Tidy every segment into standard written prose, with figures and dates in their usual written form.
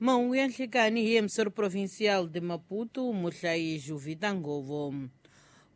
Mahungu ya nhlikani hi emissor provincial de Maputo, muhlayi Juvita Ngovo.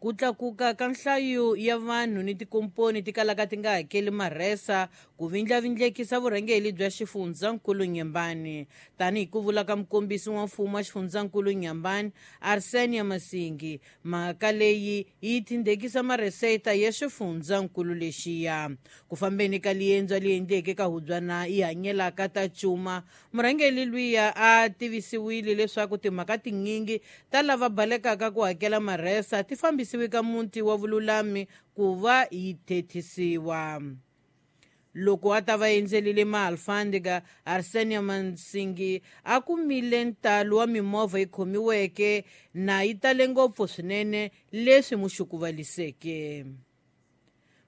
Ku tlakuka ka nhlayo ya vanhu ni tikomponi ti kalaka ti nga hakeli marhesa ku vindlavindlekisa vurhangeli bya xifundzankulu Nyembani. Tanihi ku vula ka mukombisi wa mfumo wa xifundzankulu Nyembani, Arsenia Masingi, mhaka leyi yi tindekisa mareseta ya xifundzankulu lexiya. Ku fambeni ka liendzo li endleke ka hubyana yi hanyelaka ta cuma, murhangeli luya a tivisiwile leswaku timhaka tinyingi ta lava balekaka ku hakela marhesa ti fambisiwe ka muti wa vululami ku va yi thethisiwa. Loko a ta va endzelile maalfandika, Arsenio Mansingi a kumile ntalo wa mimovha yi khomiweke na yi tale ngopfu swinene leswi muxukuvaliseke.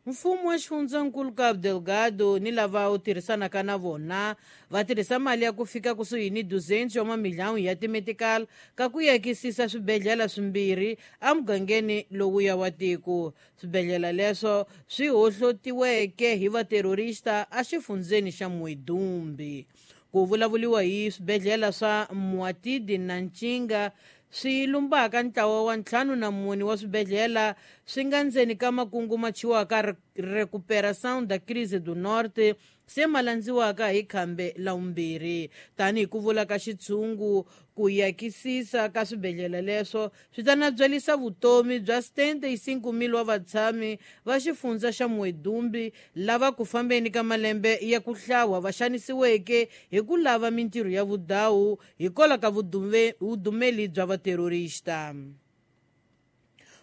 Mfumo wa xifundzankulu Cabo Delgado ni lava wu tirhisanaka na vona va tirhisa mali ya ku fika kusuhi ni 200 wa mamiliyoni ya timetical ka ku yakisisa swibedhlele swimbirhi emugangeni lowuya wa tiko. Swibedhlele leswo swi hohlotiweke hi vaterorista exifundzeni xa Muidumbe. Ku vulavuriwa hi swibedhlele swa Muatidi na Ncinga swi lumbaka ntlawa wa 54 wa swibedhlele swi nga ndzeni ka makungu ma chiwaka Recuperação da Crise do Norte se ma landziwaka hi khambe la vumbirhi. Tanihi ku vula ka xitshungu, ku yakisisa ka swibedhlele leswo swi ta nabyalisa vutomi bya 75,000 wa vatshami va xifundza xa Muidumbe lava ku fambeni ka malembe ya ku hlawa va xanisiweke hi ku lava mintirho ya vudawu hikwalaho ka vudumeli bya vaterorista.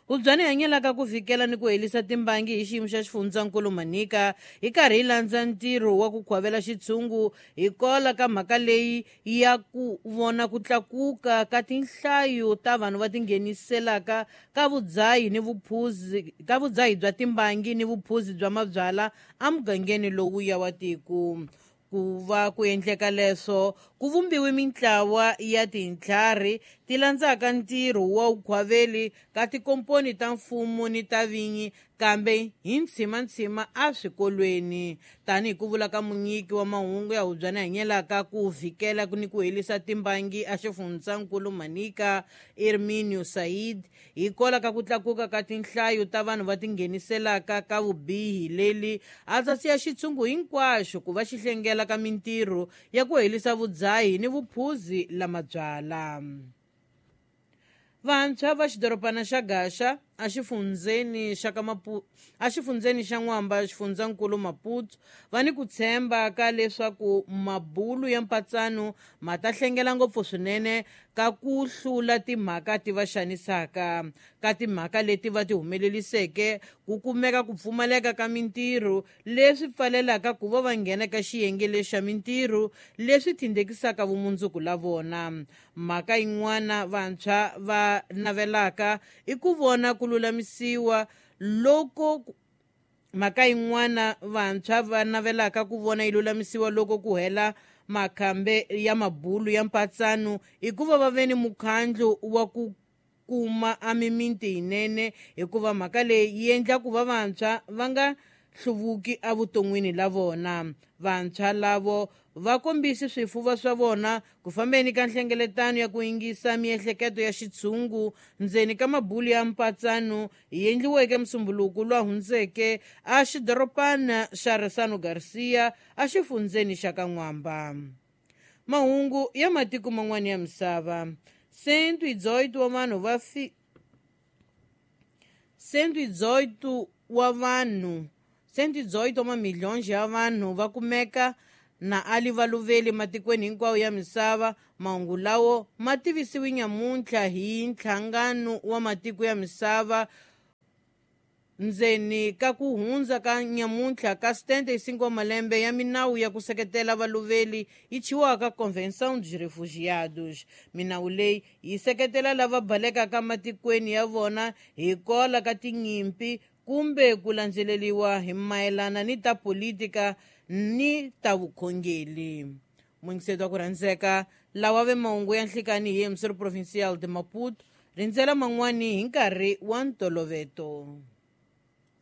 Hubyani hanyelaka ku fikela ni ku helisa timbangi hi xiyimo xa xifundzankulu Manika hi karhi hi landza ntirho wa ku khwavela xitshungu hikwalaho ka mhaka leyi ya ku vona ku tlakuka ka tinhlayo ta vanhu va tingheniselaka ka vudzahi ni vuphuzi ka vudzahi bya timbangi ni vuphuzi bya mabyala emugangeni lowuya wa tiko. Ku va ku endleka leswo ku vumbiwe mintlawa ya tintlhari ti landzaka ntirho wa vukhwaveli ka tikomponi ta mfumo ni ta vinyi kambe hi ntshimantshima eswikolweni. Tanihi ku vula ka munyiki wa mahungu ya hubyana hanyelaka ku vhikela ni ku helisa timbangi exifundzankulu Manika, Erminio Said, hikwalaho ka ku tlakuka ka tinhlayo ta vanhu va tingheniselaka ka vubihi leli a ta siya xitshungu hinkwaxo ku va xi hlengela ka mintirho ya ku helisa vudzahi ni vuphuzi la mabyala. Vantshwa va xidorobana xa Gaxa exifundzeni xa ka exifundzeni xa N'wamba xifundzankulu Maputo va ni ku tshemba ka leswaku mabulu ya mpatsano ma ta hlengela ngopfu swinene ka ku hlula timhaka ti va xanisaka. Ka timhaka leti va ti humeleliseke ku kumeka ku pfumaleka ka mintirho leswi pfalelaka ku va va nghena ka xiyenge lexa mintirho leswi tindekisaka vumundzuku la vona. Mhaka yin'wana vantshwa va navelaka i ku vona ku lulamisiwa loko mhaka yin'wana vantshwa va navelaka ku vona yi lulamisiwa loko ku hela makhambe ya mabulu ya mpatsano i ku va va ve ni mukhandlu wa ku kuma a mimiti yinene, hikuva mhaka leyi yi endla ku va vantshwa va nga hluvuki evuton'wini la vona. Vantshwa lavo va kombisi swifuva swa vona ku fambeni ka nhlengeletano ya ku yingisa miehleketo ya xitshungu ndzeni ka mabulu ya mpatsano yi endliweke musumbuluku lwa hundzeke a xidorobana xa Resano Garcia exifundzeni xa ka N'wamba. Mahungu ya matiko man'wana ya misava. 118 wa vanhu va 118 wa vanhu 118 wa mamiliyoni ya vanhu va kumeka na ali valuveli matikweni hinkwawo ya misava. Mahungu lawo ma tivisiwe nyamuntlha hi nhlangano wa matiko ya misava ndzeni ka ku hundza ka nyamuntlha ka 75 wa malembe ya minawu ya ku seketela valuveli yi chiwaka Convenção dos Refugiados. Minawu leyi yi seketela lava balekaka matikweni ya vona hikwalaho ka tinyimpi kumbe ku landzeleriwa hi mayelana ni ta politika ni ta vukhongeli. Mungiseto wa ku rhandzeka lawa ve mahungu ya nhlikani hi emissor provincial de Maputo, rindzela man'wani hi nkarhi wa ntoloveto.